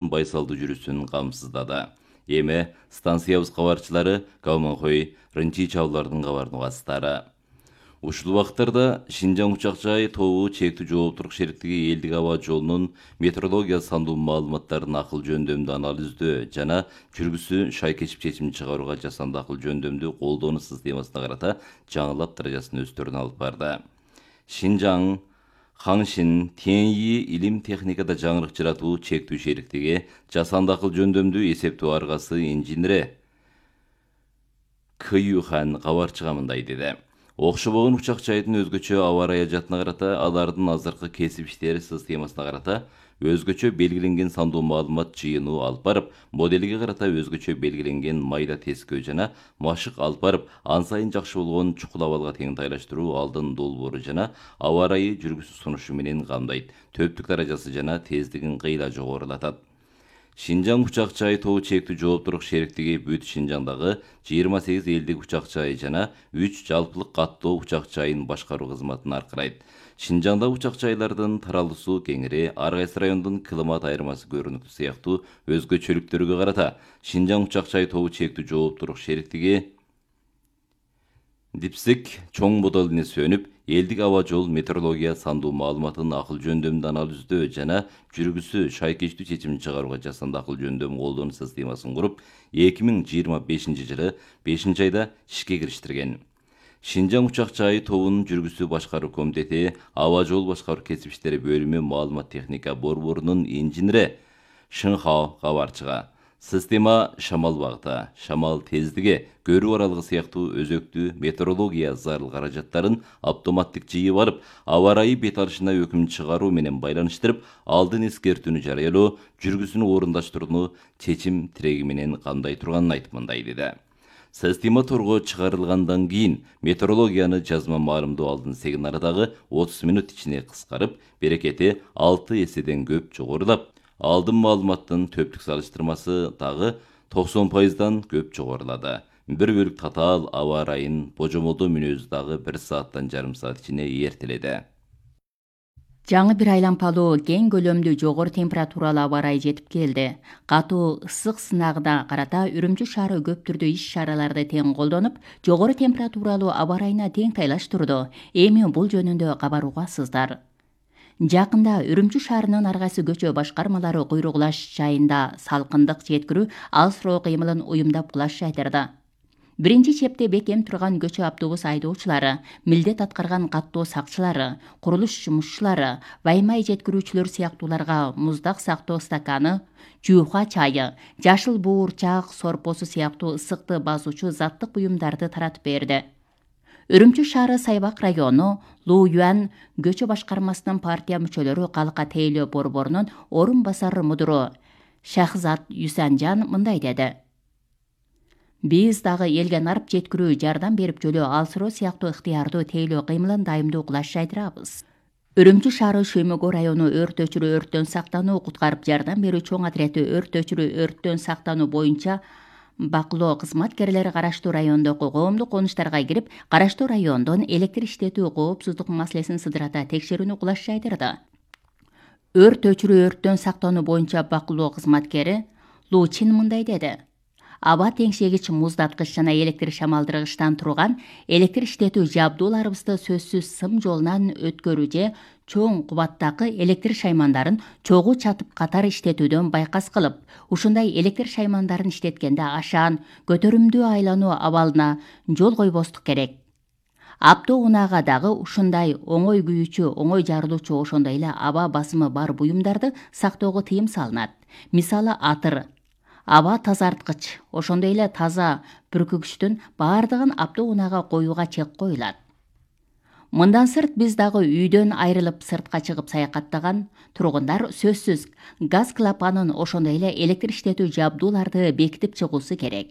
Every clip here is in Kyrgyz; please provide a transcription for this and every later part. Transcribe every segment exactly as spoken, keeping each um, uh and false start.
байсалдуу жүрүшүн камсыздады. Эми станциябыз кабарчылары Калманхой, Рынчи чабуулардын кабарын угаттары. Ушул убакыттарда Шинжаң учак жай тобу чектүү жооптурук шериктиги элдик аба жолунун метеорология сандуу маалыматтарын акыл жөндөмдүү анализдөө жана жүргүсү шайкечип чечим чыгарууга жасанды акыл жөндөмдүү колдонуу системасына карата жаңылап даражасын өстөрүнө алып барды. Шинжаң Хаңшин Теньи илим техникада жаңырык жаратуу чектүү шериктиги жасанды акыл жөндөмдүү эсептөө аргасы инженери Кыюхан кабарчыга мындай деди. Окшобогон учак жайдын өзгөчө аба ырайы жаатына карата алардын азыркы кесип иштери системасына карата өзгөчө белгиленген сандуу маалымат жыйынуу алып барып, моделге карата өзгөчө белгиленген майда тескөө жана машык алып барып, ан сайын жакшы болгон чукул абалга теңтайлаштыруу алдын долбоору жана аба ырайы жүргүсү сунушу менен камдайт. Төптүк даражасы жана тездигин кыйла жогорулатат. Шинжаң учак жай тобу чектүү жооптурук шериктиги бүт Шинжаңдагы жыйырма сегиз элдик учак жай жана үч жалпылык каттоо учак жайын башкаруу кызматын аркырайт. Шинжаңда учак жайлардын таралуусу кеңири, ар кайсы райондун климат айырмасы көрүнүктүү сыяктуу өзгөчөлүктөргө карата Шинжаң учак жай тобу чектүү жооптурук шериктиги Дипсик чоң моделине сөнүп, элдик аба жол метеорология сандуу маалыматын акыл жөндөмдүү анализдөө жана жүргүсү шайкечтүү чечим чыгарууга жасанды акыл жөндөм колдонуу системасын куруп, эки миң жыйырма бешинчи жылы бешинчи айда ишке кириштирген. Шинжаң учак жай тобунун жүргүсү башкаруу комитети аба жол башкаруу кесип иштери бөлүмү маалымат техника борборунун инженери Шыңхао кабарчыга система шамал багыты, шамал тездиги, көрүү аралыгы сыяктуу өзөктүү метеорология зарыл каражаттарын автоматтык жыйып алып, аба ырайы бет алышына өкүм чыгаруу менен байланыштырып, алдын эскертүүнү жарыялоо, жүргүсүнү орундаштырууну чечим тиреги менен камдай турганын айтып мындай деди. Система торго чыгарылгандан кийин метеорологияны жазма маалымдоо алдын сегин арадагы отуз мүнөт ичине кыскарып, берекети алты эседен көп жогорулап, алдын маалыматтын төптүк салыштырмасы дагы токсон пайыздан көп жогорулады. Бир бөлүк татаал аба ырайын божомолдоо мүнөзү дагы бир сааттан жарым саат ичине эртеледи. Жаңы бир айлампалуу кең көлөмдүү жогору температуралуу аба ырайы жетип келди. Катуу ысык сынагына карата Үрүмчү шаары көп түрдүү иш-чараларды тең колдонуп, жогору температуралуу аба ырайына тең тайлаштырды. Эми бул жөнүндө кабар угасыздар. Жакында Үрүмчү шаарынын ар кайсы көчө башкармалары куйругулаш жайында салкындык жеткирүү, алыс-роо кыймылын уюмдап кулаш жайдырды. Биринчи чепте бекем турган көчө автобус айдоочулары, милдет аткарган каттоо сакчылары, курулуш жумушчулары, ваймай жеткирүүчүлөр сыяктууларга муздак сактоо стаканы, жууха чайы, жашыл буурчак сорпосу сыяктуу ысыкты басуучу заттык буюмдарды таратып берди. Үрүмчү шаары Сайбак району Лу Юан көчө башкармасынын партия мүчөлөрү калка тейлөө борборунун орун басары мудуру Шахзат Юсанжан мындай деди. Биз дагы элге нарып жеткирүү, жардам берип жөлөө алсыроо сыяктуу ыктыярдуу тейлөө кыймылын дайымдуу кылаш жайдырабыз. Үрүмчү шаары Шөймөгө району өрт өчүрүү өрттөн сактануу куткарып жардам берүү чоң отрети өрт өчүрүү өрттөн сактануу боюнча бакылоо кызматкерлери караштуу райондогу коомдук конуштарга кирип, караштуу райондон электр иштетүү коопсуздук маселесин сыдырата текшерүүнү кулаш жайдырды. Өрт өчүрүү өрттөн сактануу боюнча бакылоо кызматкери Лу Чин мындай деди. Аба теңшегич, муздаткыч жана электр шамалдыргычтан турган электр иштетүү жабдууларыбызды сөзсүз сым жолунан өткөрүү же чоң кубаттагы электр шаймандарын чогуу чатып катар иштетүүдөн байкас кылып, ушундай электр шаймандарын иштеткенде ашаан, көтөрүмдүү айлануу абалына жол койбостук керек. Апто унаага дагы ушундай оңой күйүүчү, оңой жарылуучу, ошондой эле аба басымы бар буюмдарды сактоого тыйым салынат. Мисалы атыр, аба тазарткыч, ошондой эле таза бүркүгүчтүн баардыгын апто унаага коюуга чек коюлат. Мындан сырт биз дагы үйдөн айрылып сыртка чыгып саякаттаган тургундар сөзсүз газ клапанын, ошондой эле электр иштетүү жабдууларды бекитип чыгуусу керек.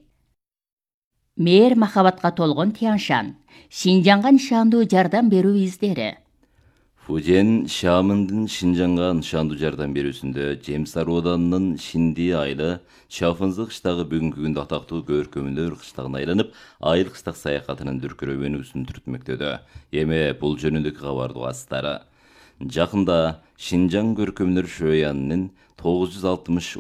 Мээр махабатка толгон Тяншан, Шинжаңга нышандуу жардам берүү издери. Фужен Шамындын Шинжаңга нышандуу жардам берүүсүндө Жемсар Оданынын Шинди айылы Шафынзы кыштагы бүгүнкү күндө атактуу көркөмүлөр кыштагына айланып, айыл кыштак саякатынын дүркүрөөнүүсүн түртмөктөдө. Эми бул жөнүндөгү кабарды угасыздар. Жакында Шинжаң көркөмдөр шөянынын тогуз жүз алтымыш